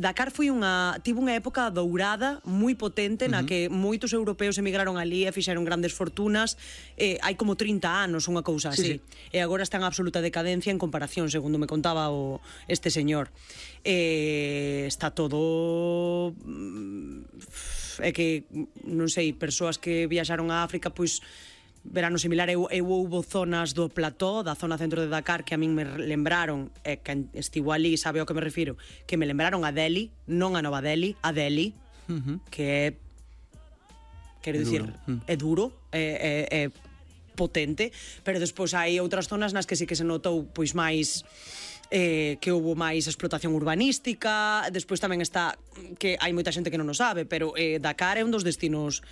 Dakar tivo unha época dourada moi potente na que moitos europeos emigraron ali e fixeron grandes fortunas. Hai como 30 anos, unha cousa así. E agora está en absoluta decadencia en comparación, segundo me contaba este señor. Está todo... É que, non sei, persoas que viaxaron a África, pois... verano similar, eu houbo zonas do plató, da zona centro de Dakar, que a min me lembraron, que estivo ali, sabe ao que me refiro, que me lembraron a Delhi, non a Nova Delhi, a Delhi, que é, quero dicir, é duro, é potente, pero despois hai outras zonas nas que sí que se notou pois máis que houve máis explotación urbanística. Despois tamén está que hai moita xente que non o sabe, pero Dakar é un dos destinos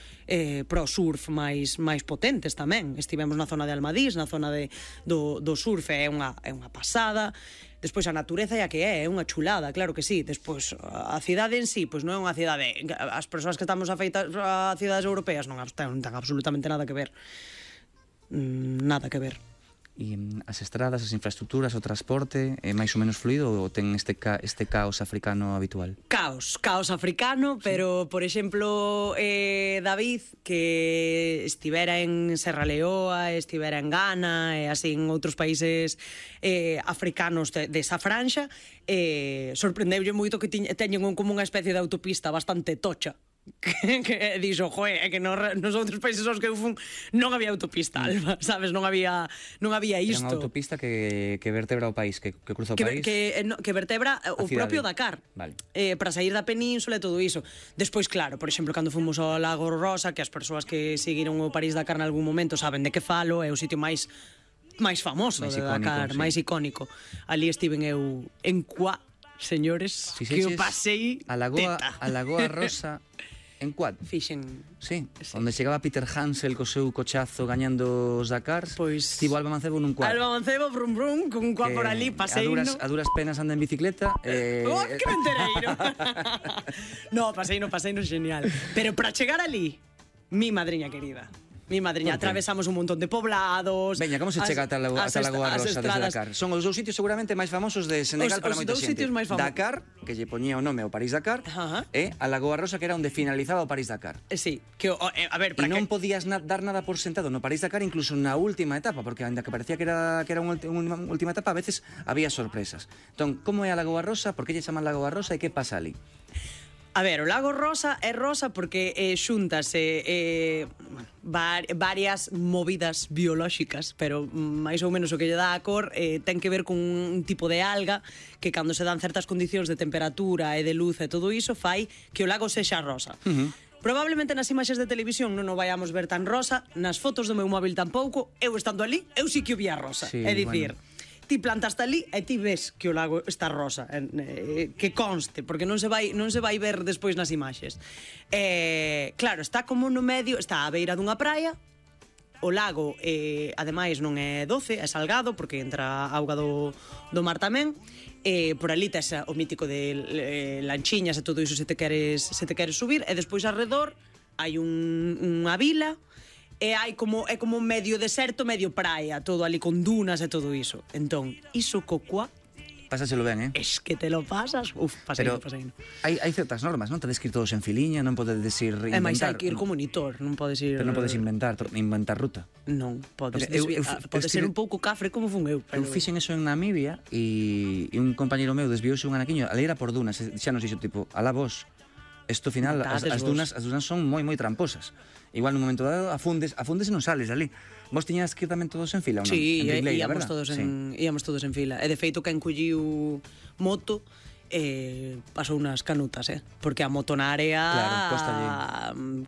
pro surf máis potentes tamén. Estivemos na zona de Almadís, na zona do surf, é unha pasada. Despois a natureza é a que é unha chulada, claro que sí. Despois a cidade en sí, pois non é unha cidade, as persoas que estamos afeitas a cidades europeas non ten absolutamente nada que ver. Nada que ver. E as estradas, as infraestructuras, o transporte é máis ou menos fluido ou ten este caos africano habitual? Caos africano, pero, por exemplo, David, que estivera en Serra Leoa, estivera en Ghana e así en outros países africanos desa franxa, sorprendeulle moito que teñen como unha especie de autopista bastante tocha. Que dixo, joe, é que nos outros países aos que eu fun non había autopista, Alba, sabes, non había isto. Era unha autopista que vertebra o país, que cruza o país. Que vertebra o propio Dakar, vale. Para sair da península e todo iso. Despois, claro, por exemplo, cando fomos ao Lago Rosa, que as persoas que seguiron o París-Dakar en algún momento saben de que falo, é o sitio máis famoso de Dakar, máis icónico. Ali estiven eu en Cuá, señores, que o pasei a Lagoa Rosa. En quad? Fixen... Sí, onde chegaba Peter Hansel co seu cochazo gañando os Dakars. Pois... Tivo Alba Mancebo nun quad. Alba Mancebo, brum brum, con un quad por ali, paseino. A duras penas anda en bicicleta. Oh, que mentereiro! No, paseino genial. Pero para chegar ali, mi madriña querida... Mi madriña, atravesamos un montón de poblados. Veña, como se chega ata a Lagoa Rosa desde Dakar? Son os dous sitios seguramente máis famosos de Senegal para moita xente. Dakar, que lle poñía o nome ao París-Dakar, e a Lagoa Rosa, que era onde finalizaba o París-Dakar. Sí, que, a ver, para que... E non podías dar nada por sentado no París-Dakar, incluso na última etapa, porque ainda que parecía que era unha última etapa, a veces había sorpresas. Entón, como é a Lagoa Rosa? Por que lle chaman Lagoa Rosa e que pasa ali? A ver, o Lago Rosa é rosa porque xúntase varias movidas biolóxicas, pero máis ou menos o que lle dá a cor ten que ver con un tipo de alga que cando se dan certas condicións de temperatura e de luz e todo iso fai que o lago sexa rosa. Probablemente nas imaxes de televisión non o vayamos ver tan rosa, nas fotos do meu móvil tampouco, eu estando ali, eu sí que o vi a rosa. É dicir... Ti plantaste ali e ti ves que o lago está rosa, que conste, porque non se vai ver despois nas imaxes. Claro, está como no medio, está á beira dunha praia, o lago, ademais, non é doce, é salgado, porque entra auga do mar tamén, por ali tes o mítico de lanchiñas e todo iso se te queres subir, e despois arredor hai unha vila, e é como medio deserto, medio praia, todo ali con dunas e todo iso. Entón, iso cocua... Pásaselo ben, Es que te lo pasas. Paseino. Hai certas normas, non? Tedes que ir todos en filiña, non podes ir inventar. E máis hai que ir como monitor, non podes ir... Pero non podes inventar ruta. Non, podes ser un pouco cafre como fun eu. Eu fixen eso en Namibia e un compañeiro meu desviouse un anaquiño, ali era por dunas, xa nos dixo tipo, alá vos, isto final, as dunas son moi tramposas. Igual nun momento dado afundes e non sales ali. Vos tiñas que ir tamén todos en fila ou non? Sí, íamos todos en fila. E de feito que encolliu moto pasou unas canutas, porque a moto na área... Claro, costalle.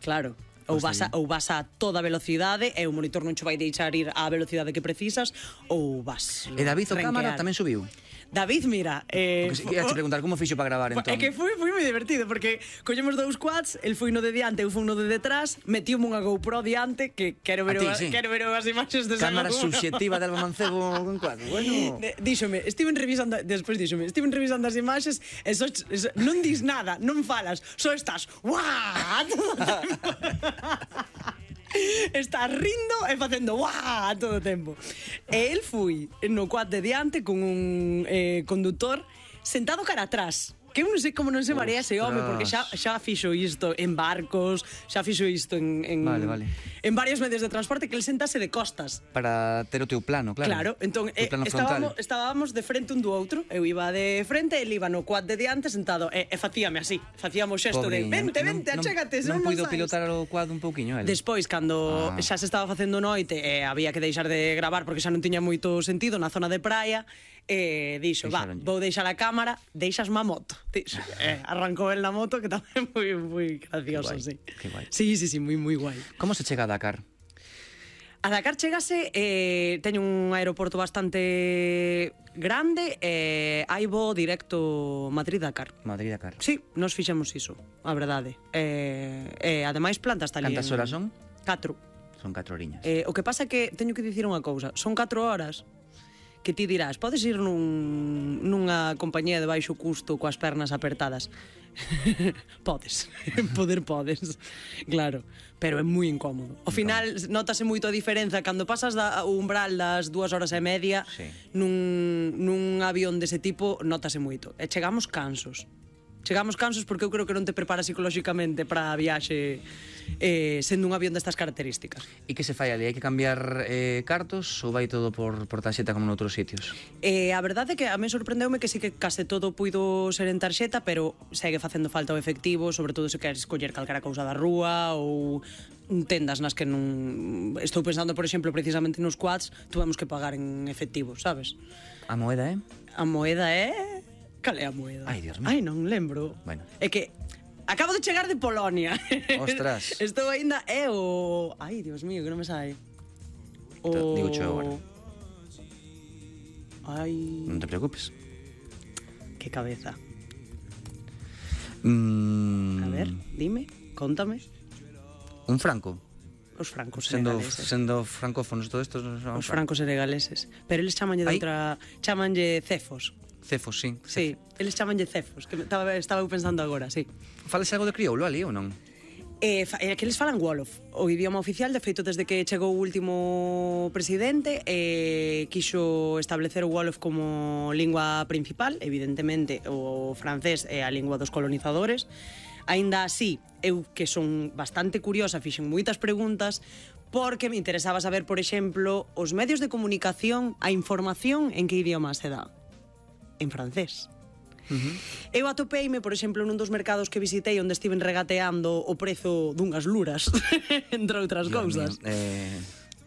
Claro. Ou vas a toda velocidade e o monitor non che vai deixar ir á velocidade que precisas, ou vas... E David o cámara tamén subiu? David, mira... Ia te preguntar como fixo para gravar, entón. É que foi moi divertido, porque collemos dous quads, el foi no de diante, eu fui no de detrás, metiume unha GoPro diante, que quero ver as imaxes de cámara subxectiva de Alba Mancebo con quad. Bueno... Díxome, estiven revisando as imaxes, e non dis nada, non falas, só estás... ¡Uah! Está rindo e facendo ¡guau! Todo o tempo. E el foi no quad de diante con un conductor sentado cara atrás. Que eu non sei como non se marea ese home, porque xa fixo isto en barcos, xa fixo isto en varios medios de transporte, que el sentase de costas. Para ter o teu plano, claro. Claro, entón estábamos de frente un do outro, eu iba de frente, el iba no quad de diante sentado, e facíame así, facíamos xesto de vente, achégate, non puido pilotar o quad un pouquiño, el? Despois, cando xa se estaba facendo noite e había que deixar de gravar porque xa non tiña moito sentido na zona de praia, dixo, vou deixar a cámara, deixasme a moto. Arrancou el na moto, que tamén moi gracioso, sí. Que guai. Sí, moi guai. Como se chega a Dakar? A Dakar chegase, teño un aeroporto bastante grande, hai voo directo Madrid-Dakar. Madrid-Dakar. Sí, nos fixemos iso, a verdade. Ademais, plantas tal. Cantas horas son? 4. Son 4 horiñas. O que pasa é que teño que dicir unha cousa, son 4 horas que ti dirás, podes ir nunha compañía de baixo custo coas pernas apertadas. Podes, podes, claro, pero é moi incómodo. Ao final notase moito a diferenza cando pasas o umbral das 2 horas e media nun avión dese tipo, notase moito. E chegamos cansos porque eu creo que non te preparas psicolóxicamente para a viaxe sendo un avión destas características. E que se fai ali? Hai que cambiar cartos ou vai todo por tarxeta como noutros sitios? A verdade é que a mí sorprendeume que sí que case todo puido ser en tarxeta, pero segue facendo falta o efectivo, sobre todo se queres escoller calquera cousa da rúa ou tendas nas que non... Estou pensando, por exemplo, precisamente nos quads, tuvemos que pagar en efectivo, sabes? A moeda é? A moeda é... Cal é a moeda? Ai, Dios mío. Ai, non lembro. Bueno. É que acabo de chegar de Polonia. Ostras. Estou aínda... É o... Ai, Dios mío, que non me sai. Digo cho agora. Ai... Non te preocupes. Que cabeza. A ver, dime, contame. Un franco. Os francos senegaleses. Sendo francófonos todo isto... Os francos senegaleses. Pero eles chamanlle de outra... Chamanlle cefos. Cefos, sí. Sí, eles chamanlle cefos, que estaba eu pensando agora, sí. Fales algo de crioulo ali ou non? Que eles falan Wolof, o idioma oficial, de feito desde que chegou o último presidente, quixo establecer o Wolof como lingua principal, evidentemente o francés é a lingua dos colonizadores. Aínda así, eu que son bastante curiosa, fixen moitas preguntas, porque me interesaba saber, por exemplo, os medios de comunicación, a información en que idioma se dá. En francés. Eu atopeime, por exemplo, nun dos mercados que visitei onde estiven regateando o prezo dunhas luras, entre outras cousas.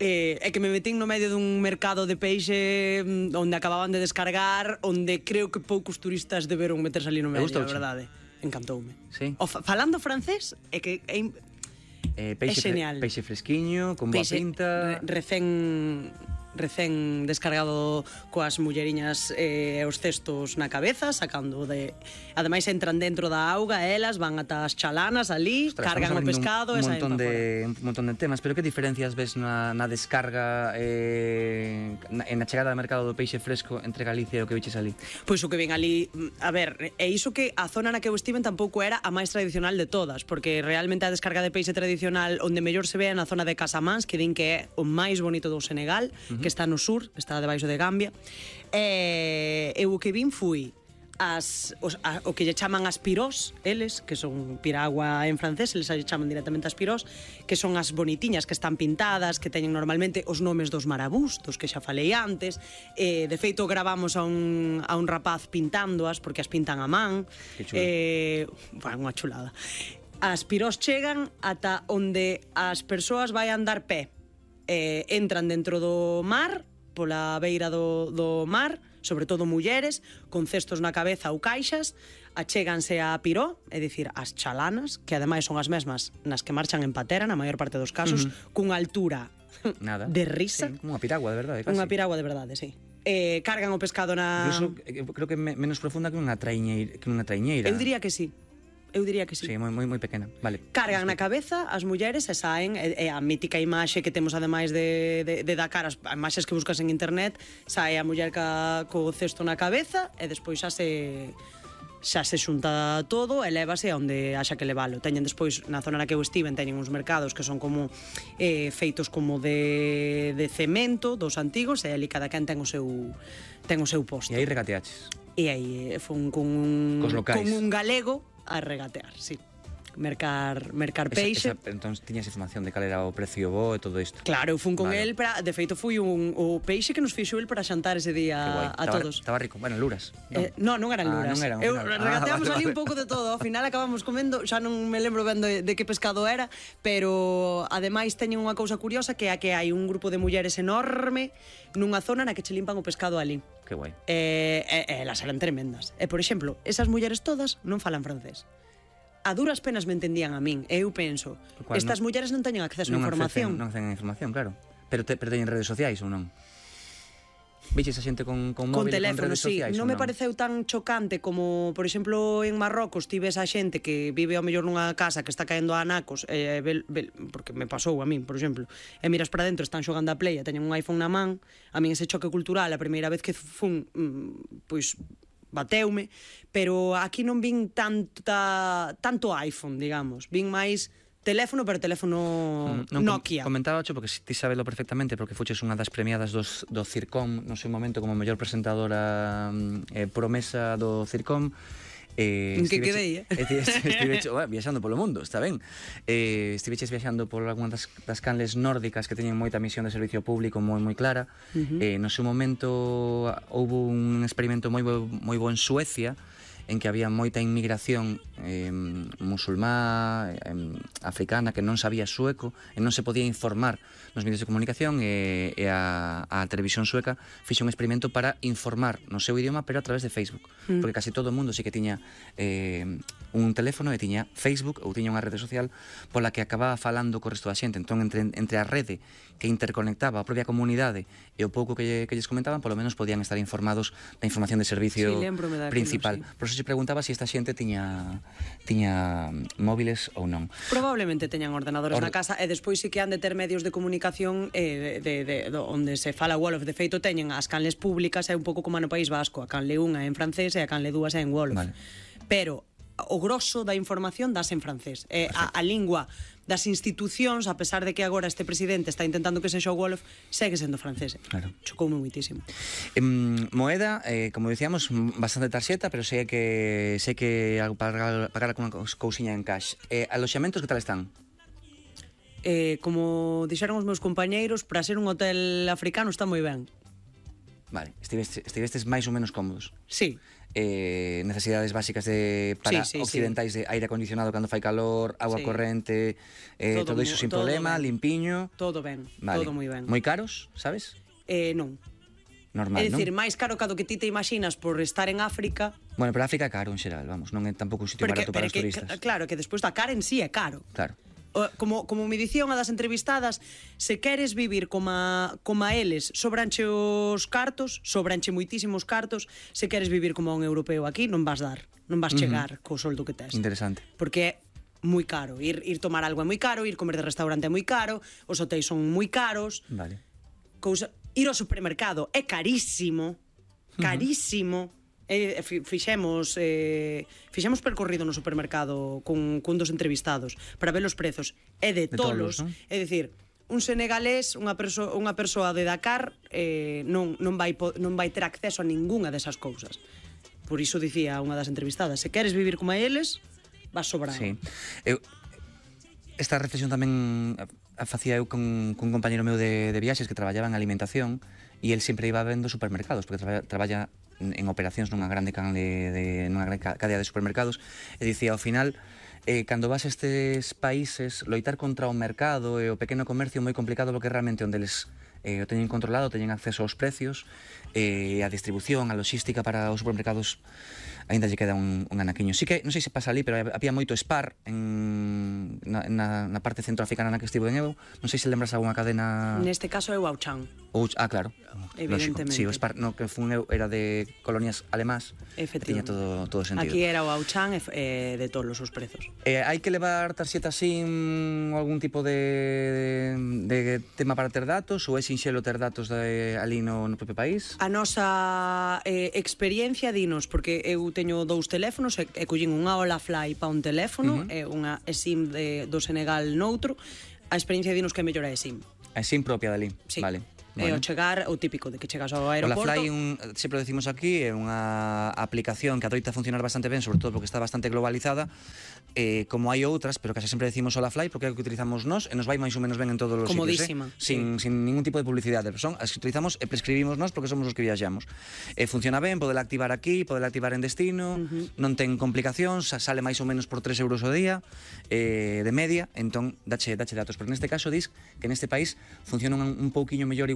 É que me metín no medio dun mercado de peixe onde acababan de descargar, onde creo que poucos turistas deberon meterse ali no medio, a verdade. Encantoume. Sí. Falando francés, é que é genial. Peixe fresquiño, con boa pinta... Recén descargado coas mulleriñas e os cestos na cabeza, sacando de... Ademais entran dentro da auga, elas van ata as chalanas ali, cargan o pescado e saen para fora. Un montón de temas, pero que diferencias ves na descarga na chegada ao mercado do peixe fresco entre Galicia e o que viches ali? Pois o que ven ali, a ver, é iso que a zona na que eu estiven tampouco era a máis tradicional de todas, porque realmente a descarga de peixe tradicional onde mellor se ve é na zona de Casamance, que din que é o máis bonito do Senegal, que está no sur, está debaixo de Gambia. Eu o que vin fui o que lle chaman as pirós, eles, que son piragua en francés, eles lle chaman directamente as pirós, que son as bonitiñas que están pintadas, que teñen normalmente os nomes dos marabús, dos que xa falei antes. De feito, gravamos a un rapaz pintándoas, porque as pintan a man. Que chulo. Unha chulada. As pirós chegan ata onde as persoas vai andar pé. Entran dentro do mar, pola beira do mar, sobre todo mulleres, con cestos na cabeza ou caixas, achéganse a piró, é dicir, as chalanas, que ademais son as mesmas nas que marchan en patera, na maior parte dos casos, cunha altura de risa. Sí, unha piragua de verdade, casi. Unha piragua de verdade, sí. Cargan o pescado na... Incluso, creo que menos profunda que unha traiñeira. Eu diría que sí. Sí, moi pequena, vale. Cargan na cabeza as mulleres e saen, é a mítica imaxe que temos ademais de Dakar, as imaxes que buscas en internet, sae a muller co cesto na cabeza e despois xa se xunta todo e lévase a onde haxa que levalo. Teñen despois, na zona na que eu estiven, teñen uns mercados que son como feitos como de cemento, dos antigos, e ali cada quen ten o seu posto. E aí regateaches? E aí fun con un galego a regatear, sí. Mercar peixe. Entón, tiñas información de cal era o precio bo e todo isto. Claro, eu fun con el para, de feito fui o peixe que nos fixo el para xantar ese día a todos. Estaba rico, bueno, luras. Non eran luras. Regateamos ali un pouco de todo, ao final acabamos comendo, xa non me lembro ben de que pescado era, pero ademais teñen unha cousa curiosa que é que hai un grupo de mulleres enorme nunha zona na que che limpan o pescado ali. Que guai. Elas eran tremendas. E, por exemplo, esas mulleres todas non falan francés. A duras penas me entendían a min. E eu penso, estas mulleres non teñen acceso a información. Non teñen información, claro. Pero teñen redes sociais ou non? Viches a xente con móvil, con teléfono, redes sí. sociais? Non me pareceu tan chocante como, por exemplo, en Marrocos tives a xente que vive ao mellor nunha casa que está caendo a anacos, porque me pasou a min, por exemplo, e miras para dentro, están xogando a play e teñen un iPhone na man. A min ese choque cultural, a primeira vez que fun, pois bateume, pero aquí non vin tanto iPhone, digamos. Vin máis teléfono, pero teléfono Nokia. Comentaba porque ti sabelo perfectamente, porque fuches unha das premiadas do Circom no seu momento como mellor presentadora promesa do Circom. En que quedei, Estiveches viaxando polo mundo, está ben. Estiveches viaxando por algunhas das canles nórdicas que teñen moita misión de servicio público moi clara. No seu momento houve un experimento moi bo en Suecia, en que había moita inmigración musulmá, africana, que non sabía sueco e non se podía informar nos medios de comunicación, e a televisión sueca fixe un experimento para informar no seu idioma, pero a través de Facebook, porque casi todo o mundo sí que tiña un teléfono e tiña Facebook ou tiña unha rede social pola que acababa falando co resto da xente. Entón, entre a rede que interconectaba a propia comunidade e o pouco que lles comentaban, polo menos podían estar informados da información de servicio principal. Por eso se preguntaba se esta xente tiña móviles ou non. Probablemente teñan ordenadores na casa, e despois sí que han de ter medios de comunicación onde se fala Wolof. De feito, teñen as canles públicas, é un pouco como no País Vasco, a canle 1 é en francés e a canle 2 é en Wolof. Pero o grosso da información das en francés. A lingua das institucións, a pesar de que agora este presidente está intentando que sexa o Wolof, segue sendo francés. Claro. Chocoume muitísimo. Moeda, como dicíamos, bastante tarxeta, pero sei que pagar con unha cousiña en cash. Aloxamentos que tal están? Como dixeron os meus compañeiros, para ser un hotel africano está moi ben. Vale, estivestes máis ou menos cómodos? Sí. Necesidades básicas para occidentais de aire acondicionado cando fai calor, agua corrente, todo iso sin problema, limpiño. Todo ben, todo moi ben. Moi caros, sabes? Non. Normal, é dicir, máis caro que do que ti te imaginas por estar en África. Bueno, pero África é caro en xeral, vamos, non é tampouco un sitio barato para os turistas. Claro, que despois da cara en sí é caro. Claro. Como me dicía unha das entrevistadas, se queres vivir como eles, sobranche os cartos, sobranche moitísimos cartos. Se queres vivir como un europeo aquí, non vas chegar co soldo que tes. Interesante. Porque é moi caro, ir tomar algo é moi caro, ir comer de restaurante é moi caro, os hotéis son moi caros. Vale. Ir ao supermercado é carísimo, carísimo. Fixemos percorrido no supermercado con dos entrevistados para ver os prezos, é de tolos, ¿no? É dicir, un senegalés, unha persoa de Dakar non vai ter acceso a ningunha desas cousas. Por iso dicía unha das entrevistadas, se queres vivir como eles, vas sobrado. Sí. Esta reflexión tamén a facía eu con un compañero meu de viaxes que traballaba en alimentación, e el sempre iba vendo supermercados, porque traballa en operacións nunha grande cadea de supermercados, e dicía, ao final, cando vas a estes países, loitar contra o mercado e o pequeno comercio é moi complicado, porque realmente onde eles o teñen controlado, teñen acceso aos precios, a distribución, a logística para os supermercados, aínda lle queda un anaquiño. Sí que, non sei se pasa ali, pero había moito Spar na parte centroafricana na que estivo en eu. Non sei se lembras algunha cadena... Neste caso é o Auchan. Claro. Evidentemente. Sí, o Spar no que fun eu era de colonias alemás. Efectivamente. Tiña todo sentido. Aquí era o Auchan de todos os prezos. Hai que levar tarxeta SIM ou algún tipo de tema para ter datos, ou é sinxelo ter datos ali no propio país? A nosa experiencia dinos, porque eu teño 2 teléfonos e collín unha Olafly para un teléfono e unha SIM do Senegal noutro. A experiencia dinos que mellor é SIM. A SIM propia dali, sí. Vale. E ao chegar, o típico de que chegas ao O aeroporto... Olafly, sempre o decimos aquí, é unha aplicación que adoita funcionar bastante ben, sobre todo porque está bastante globalizada, como hai outras, pero case sempre decimos Olafly porque é o que utilizamos nós e nos vai máis ou menos ben en todos os Comodísima, sitios, sin ningún tipo de publicidade. Son as que utilizamos e prescribimos nós porque somos os que viaxamos. Funciona ben, podela activar aquí, podela activar en destino, non ten complicacións, sale máis ou menos por 3 euros ao día de media, entón dache datos, porque neste caso dis que neste país funciona un pouquiño mellor